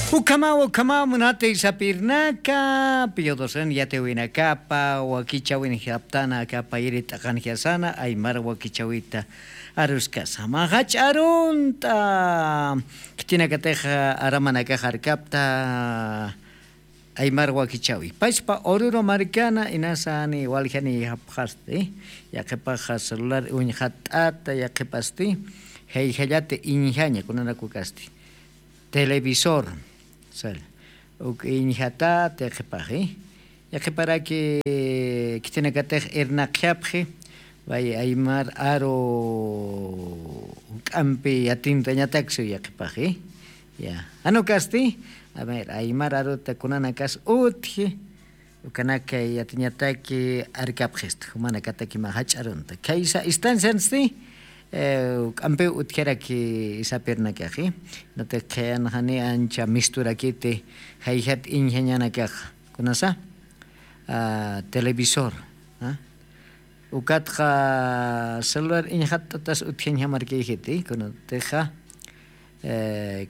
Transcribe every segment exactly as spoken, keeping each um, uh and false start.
Ukhamaw ukhamaw munatay sapirnaka, piyodosan yatiwinakapa wakichawin japtana akapa iri t'aqan jiasana aymar wakichawita aruskasa. Maxa ch'arunt'a khitinakatix aramanakax arkapta aymar wakichawi. Pachpa Oruro markana inasa ani waljani japxasti, yaqhipaxa celular uñjat'ata yaqhipasti, jayjallata iñjaña kunanakukasti. Televisor, sal. Uk iñjata tiqipaxi. Yaqhiparaki khitinakatix irnaqjapxi, bay aymar aru k'ampi yatintañataksi yaqhipaxi. Ya, anukasti, a ver, aymar aruta kunanakas utji, ukanaka yatiñataki arkapxista jumanakataki mä jach'arunta khaysa instanciansti. K'ampiw utjaraki isapirnakaxi. Nati qhiyanxani ancha misturakiti jayjat iñjañanakaxa kunasa televisor, ukatxa celular iñjat'atas utjañjamarkayjiti kunatixa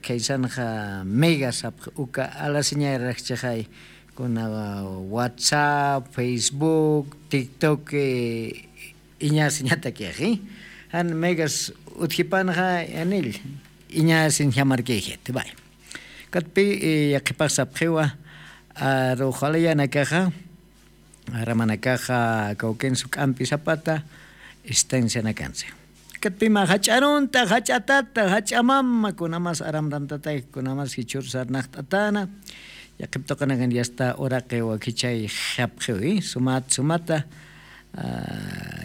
khaysanxa megas sapxi uka alasiñarakchixay kuna whatsapp, facebook, tiktok iñasiñatakixi. Jan megas utjipanxa yanil iñasiñjamarkayjiti bay. Katpi yaqhipax sapxiwa aruxalayanakaxa aramanakaxa kawkinsu k'ampi sapata estancianakansi. Katpima jach'arunta jach'atata jach'amama kunamas aramrantataki kunamas jichhur sarnaqt'atana. Yaqhiptuqanakan yasta uraqi wakichay japxiwi sumat sumata.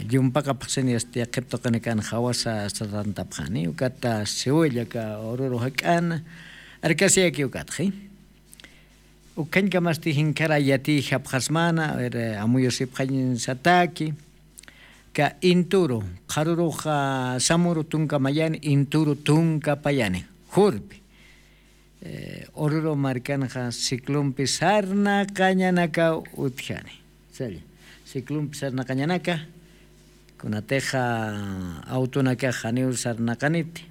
Llumpaqapxsin yasta yaqhiptuqanakan jawasa sarantapxani ukata siwillaka ururu jak'ana. Arkasiyaki ukatxi. Ukhañkamasti jinkharay yatiyjapxasmana amuyusipxañsataki. Ka inturu qharuruxa samuru tunka mayani inturu tunka payani jurpi. Ururu markanxa ciclonpi sarnaqañanakaw utjani. Salla, ciclonpi sarnaqañanaka kunatixa awtunakax janiw sarnaqaniti.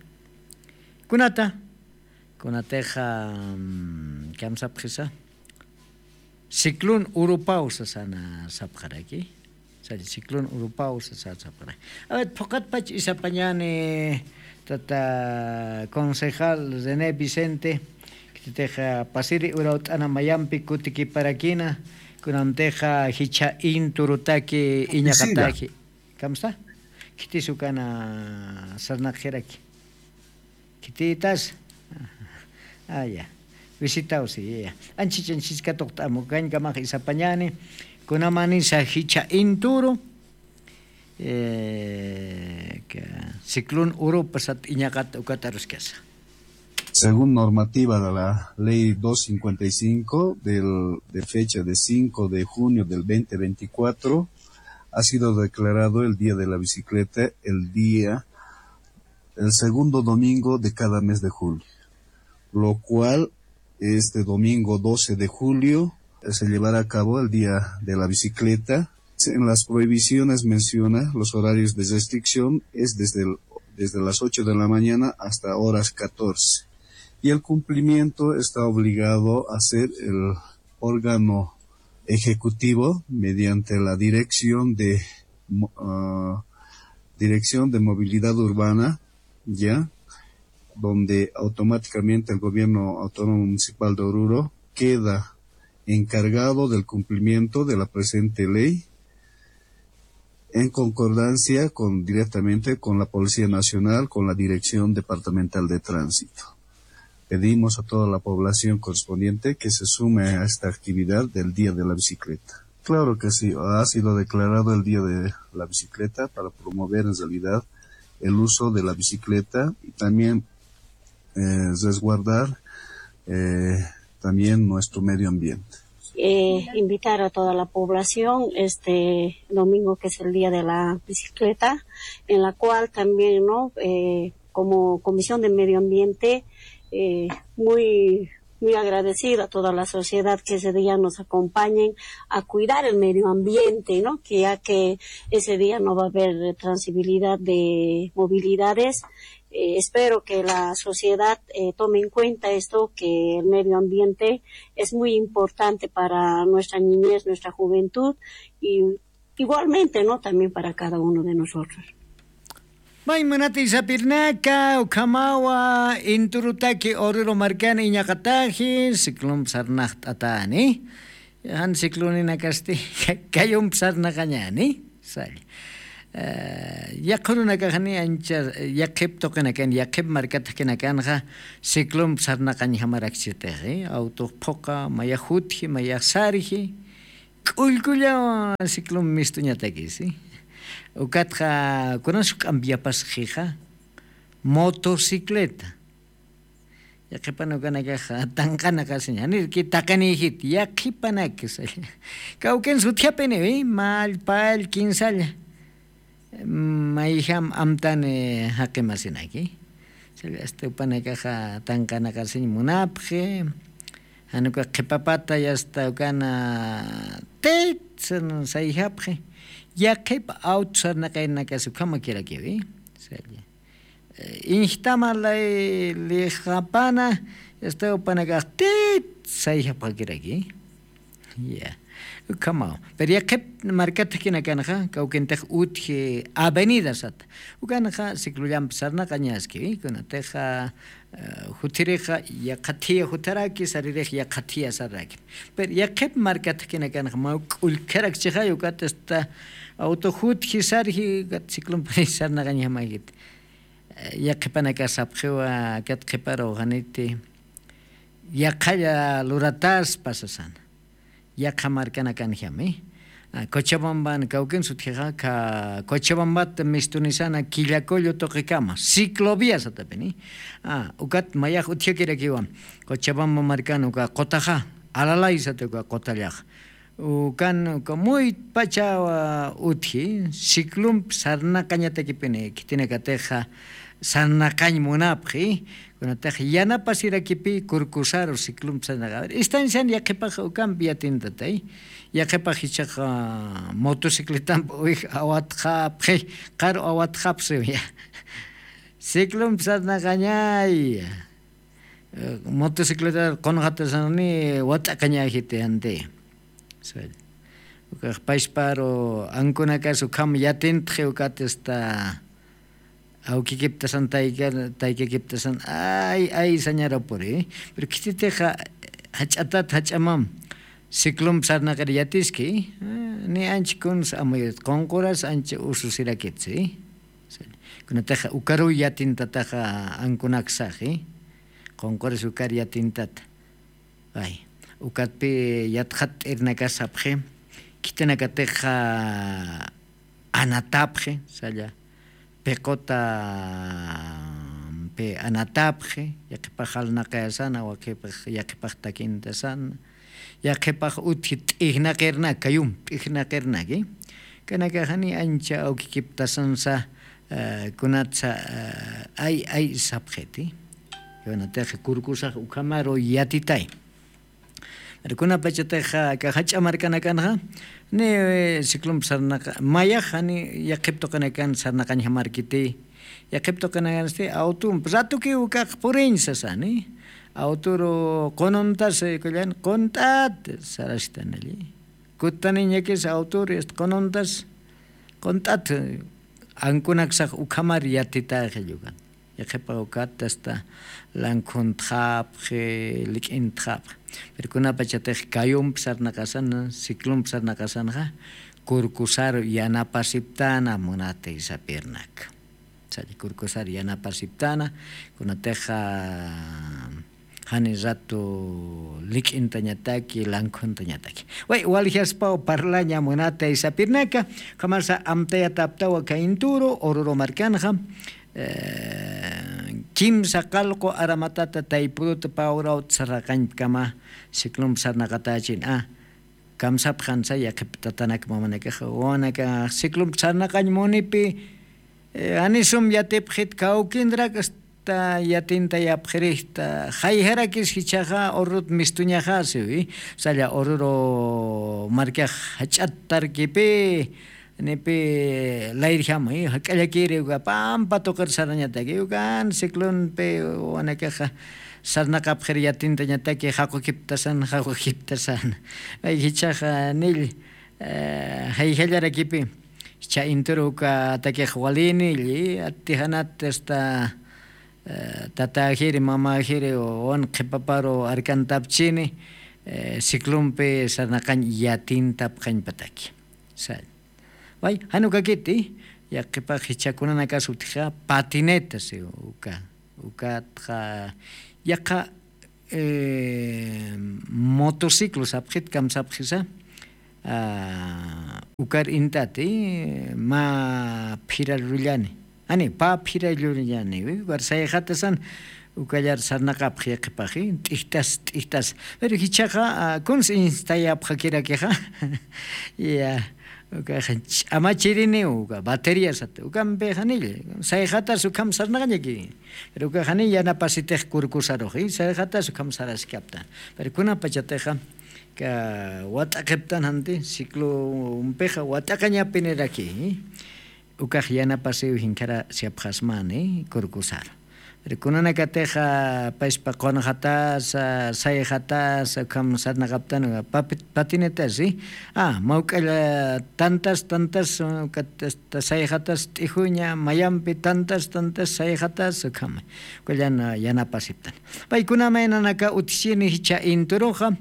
Kunata kunatixa kamsapxisa ciclón urupaw sasana sapxaraki. Salla, ciclón urupaw sasana sapxaraki. Awet phuqatpach isapañani tata concejal rené vicente. Khititixa pasiri urawt'ana mayampi kutikiparakina kunamtixa jichha inturutaki iñaqataki. Kamsa khitisukana sarnaqjiraki. Khititas aya visitawsi ya anchich anchich katuqt'amu kañkamax isapañani. Kunamanisa jichha inturu ciclón urupa sat iñaqat ukat aruskasa. Según normativa de la ley dos cincuenta y cinco del, de fecha de cinco de junio del veinte veinticuatro, ha sido declarado el Día de la Bicicleta el día, el segundo domingo de cada mes de julio, lo cual este domingo doce de julio se llevará a cabo el Día de la Bicicleta. En las prohibiciones menciona los horarios de restricción es desde, el- desde las ocho de la mañana hasta horas catorce. Y el cumplimiento está obligado a ser el órgano ejecutivo mediante la dirección de mo- ah, dirección de movilidad urbana, ya, donde automáticamente el gobierno autónomo municipal de Oruro queda encargado del cumplimiento de la presente ley en concordancia con directamente con la Policía Nacional, con la Dirección Departamental de Tránsito. Pedimos a toda la población correspondiente que se sume a esta actividad del Día de la Bicicleta. Claro que sí, ha sido declarado el Día de la Bicicleta para promover en realidad el uso de la bicicleta y también eh, resguardar eh, también nuestro medio ambiente. Eh, invitar a toda la población este domingo que es el día de la bicicleta, en la cual también, ¿no? Eh, como Comisión de Medio Ambiente, eh, muy, muy agradecida a toda la sociedad que ese día nos acompañen a cuidar el medio ambiente, ¿no? Que ya que ese día no va a haber transferencia de movilidades, Eh, espero que la sociedad eh, tome en cuenta esto, que el medio ambiente es muy importante para nuestra niñez, nuestra juventud y igualmente, ¿no? También para cada uno de nosotros. May munati sapirnaka ukhamawa inturutaki oruro markani iñaqataji ciclompi sarnaqt'atani. Jan cicloninakasti kayumpi sarnaqañani salla. Yaqhurunakaxani ancha yaqhip tuqinakan yaqhip markataqkinakanxa ciclompi sarnaqañjamarakchitixi awtux phuqa mayax jutji mayax sarji. K'ullkullaw ciclompi mistuñatakisi. Ukatxa kunas juk'ampi yapasxixa motocicleta. Yaqhipan ukanakax tanqanaqasiña janirki taqiniyjit yaqhipanakis. Kawkin sutjapiniwi mall pall kinsalla. Mayjam amtani jaqimasinaki. Salla asta upanakaxa tanqanaqasiñ munapxi. Januka qhipapata yasta ukana tit sayjapxi. Yaqhip awtu sarnaqaynakasi ukhamakirakiwi. Salla. Injtama lay lixapana yasta upanakax tit sayjapxakiraki. Ya. Ukhamaw pero yaqhip markatxkinakanxa kawkintix utji avenida sata. Ukanxa ciclollampi sarnaqañaski kunatixa juthirixa yaqhathiya jutharaki saririx yaqhathiya sarraki. Pero yaqhip markatxkinakanxa maw k'ullkharakchixay ukat asta awtu jutji sarji ukat ciclompi sarnaqañjamakiti. Yaqhipanaka sapxiwa kat qhiparu janiti yaqhalla lurataspa sasana. Yaqha markanakanjami. Cochabamban kawkin sutjixa kha cochabambat mistunisana killakullu tuqikama ciclovia satapini. Ukat mayax utjakirakiwa cochabamba markan uka qutaxa alalay sata uka qutallaxa. Ukan uka muytpachawa utji ciclompi sarnaqañatakipini khitinakatixa sarnaqañ munapxi. Kunatix yanapasirakipi kurkusaru ciclompi sarnaqaña istancian yaqhipax ukampi yatintatay. Yaqhipax jichaxa motocicletampi uwij awatxapxi qaru awatxapxiw ya. Ciclompi sarnaqañay. Motocicleta qunxatasanani wat'aqañajiti anti. Ukax pachparu ankunakas ukham yatintxi ukat asta awkikiptasan taykakiptasan ay ay sañarapuri. Pero khititixa jach'atat jach'amam ciclompi sarnaqir yatiski. Ni ancha kuns amuyat qunquras ancha ususirakitsi. Kunataxa ukaruw yatintataxa ankunaksaxi. Qunquris ukar yatintata. Ay ukatpi yatxat t'irnakasapxi. Khitinakatixa anatapxi salla. Piqutampi anatapxi. Yaqhipax jalnaqayasana waqipax yaqhipax takintasana. Yaqhipax utji t'ijnaqirnak kayum t'ijnaqirnaki. Kanakaxani ancha awkikiptasansa kunatsa ay ay sapxiti. Kunatix kurkusax ukhamaru yatitay. Kunapachatixa aka jach'a markanakanxa ni ciclompi sarnaqa mayax jani yaqhip tuqinakan sarnaqañjamarkiti. Yaqhip tuqinakansti awtumpi ratukiw ukax puriñ sasani. Awturu qununtas kullan qunt'at sarastan alli. Kutaniñakis awturu asta qununtas qunt'at ankunaksax ukhamar yatitaxi yukan. Yaqhipa ukat asta lankhuntxapxi lik'intxapxi. Pero kunapachatix kayumpi sarnaqasana ciclompi sarnaqasanxa kurkusaru yanapasiptana munati sapirnak. Salla kurkusar yanapasiptana kunatixa jani ratu lik'intañataki lankhuntañataki. Way waljaspaw parlaña munatay sapirnaka. Ukhamarsa amtayataptawa kaynturu ururu markanxa kimsa qalqu aramatata taypuruta pawrawta sarnaqañpkama ciclompi sarnaqatächin a. Kamsapxansa yaqhip tatanak mamanakaxa wawanakax ciclompi sarnaqañ munipi anisum yatipxit kawkindrak asta yatintayapxirixta jayjarakis jichhaxa urrut mistuñaxasiwi. Salla ururu markax jach'attarkipi nipi layrjama jak'allakiri uka pampa tuqir sarañataki ukan ciclonpi wanakaxa sarnaqapxir yatintañataki jaqukiptasan jaqukiptasan. Jichhaxa nill jayjallarakipi jichha inturu ukatakix walini lli atijanat asta tatäjiri mamäjiri wan qhipaparu arkantapchini ciclonpi sarnaqañ yatintapxañpataki. Sal way jan ukakiti yaqhipax jichhakunanakas utjixa patineta si uka ukatxa yaqha motociclo sapxit kamsapxisa ukar intati mä phirarullani ani pä phirarullaniwi ugar sayxatasan ukallar sarnaqapxi qhipaxi t'ijtas t'ijtas pero jichhaxa kuns instayapxakirakixa ya ukaxa ch'amachiriniw uka batería sata ukampixa nill sayxatas ukham sarnaqañaki pero ukaxa niy yanapasitix kurkusaruxi sayxatas ukham saraskapta pero kunapachatixa ka wat'aqiptan janti ciclompixa wat'aqañapiniraki ukax yanapasiw jinkhara siapxasmani kurkusaru pero kunanakatixa payspa qunxatasa sayxatasa ukham sarnaqaptan patinetasi mawk'alla tantas tantas ukat sayxatas t'ijuyña mayampi tantas tantas sayxatas ukhama ukallan yanapasiptan paykunama inanaka utjchini jichha inturuxa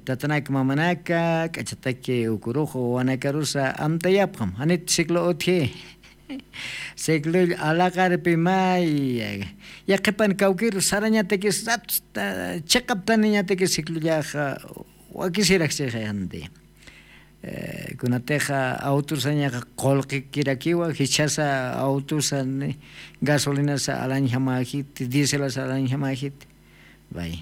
tatanak mamanaka k'achataki ukurux wawanakarusa amtayapxam janit ciclo utji ciclull alaqarpi may yaqhipan kawkiru sarañatakis ratos chiqaptaniñatakis ciclullaxa wakisirakchixayanti kunatixa awtusañaxa qulqikirakiwa jichhasa awtusa gasolinasa alañjamäjiti dieselasa alañjamäjiti bay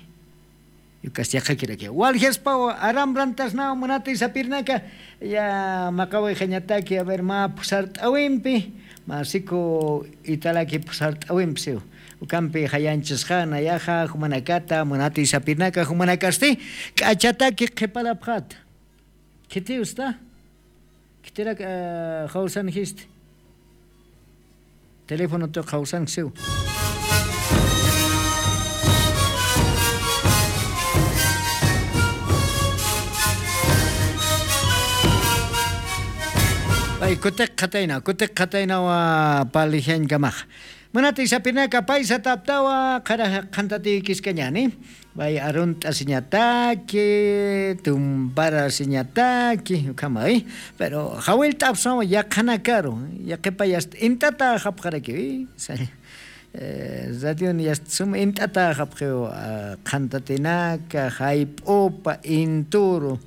yukas yaqhakirakiwa waljaspawa aramrantasnaw munati sapirnaka ya maqawixañataki aver mä phusart'awimpi mä siku italaki phusart'awimpi siw ukampi jayañchasxana yaxa jumanakata munati sapirnaka jumanakasti k'achataki qhiparapxata khitiw sta khitirak jawsan jisti teléfono tuq jawsan siw ay kutiq qhataynaw kutiq qhataynawa palijañkamaxa munati sapirnaka pay sataptawa qhara qhantatiykiskañani bay arunt'asiñataki tumparasiñataki ukhama pero jawillt'apsawa yaqhanakaru yaqhipa yasta int'atäxapxarakiwi radion yasta suma int'atäxapxiw qhantatinaka jayp'upa inturu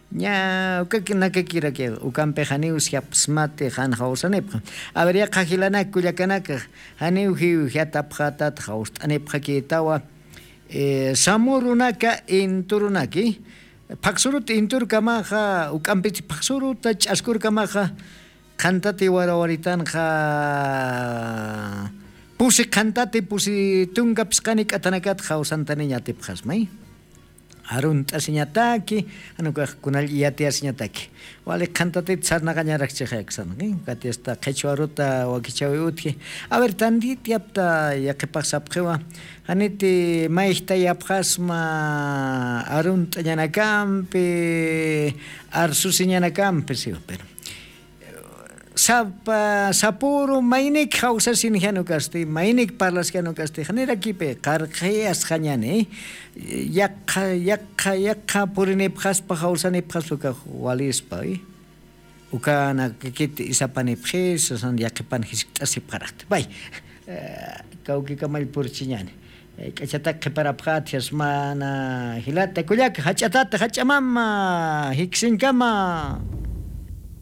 ña ukakinakakirakiw ukampi janiw siapsmati jan jawsanipxa a ver yaqha jilanak kullakanaka janiw jiwjatapxatat jawst'anipxakïtawa samurunaka inturunaki phaqsurut inturkamaxa uk'ampich phaqsuruta ch'askurkamaxa qhantati warawaritanxa pusi qhantati pusi tunka phisqani k'athanakat jawsantaniñatipxasmay arunt'asiñataki jan ukax kunall iyatiyasiñataki wali qhantatit sarnaqañarakchixayaksanki ukati asta qhichwa aruta wakichäwi utji a ver tantityapta yaqhipax sapxiwa janiti mayjtayapxasma arunt'añanakampi arsusiñanakampi siwa pero sapa sapuru maynik jawsasin jan ukasti maynik parlas jan ukasti janirakipi qarqhiyasxañani yaqha yaqha yaqha purinipxaspa jawsanipxaspa ukax walispa ukanakakit isapanipxis sasan yaqhipan jiskt'asipxaraqti pay kawkikamall purchiñani k'achatak qhiparapxat jasmana jilata kullaka jach'atat jach'amama jiksiñkama